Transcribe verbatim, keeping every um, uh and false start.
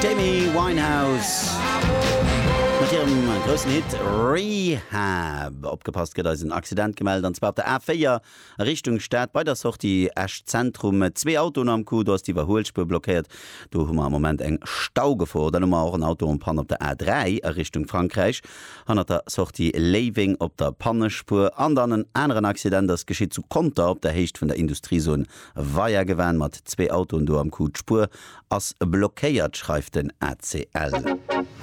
D'Amy Winehouse mat hirem groussen Hit Rehab. Opgepasst, gëtt eis en Accident gemellt, an zwar op der A véier a Richtung Stad bei der Sortie Esch Zentrum. Zwee Autoen am Coup, do ass d'Iwwerhuelspuer blockéiert. Do hu mer am Moment eng Staugefor. Dann hu mer och en Auto en panne op der A dräi a Richtung Frankräich hannert der Sortie Léiweng op der Pannespuer. An dann en aneren Accident ass geschitt zu Conter op der Héicht vun der Industriezon Weiergewan mat zwee Autoen do am Coup. D'Spuer ass blockéiert, schreift den A C L.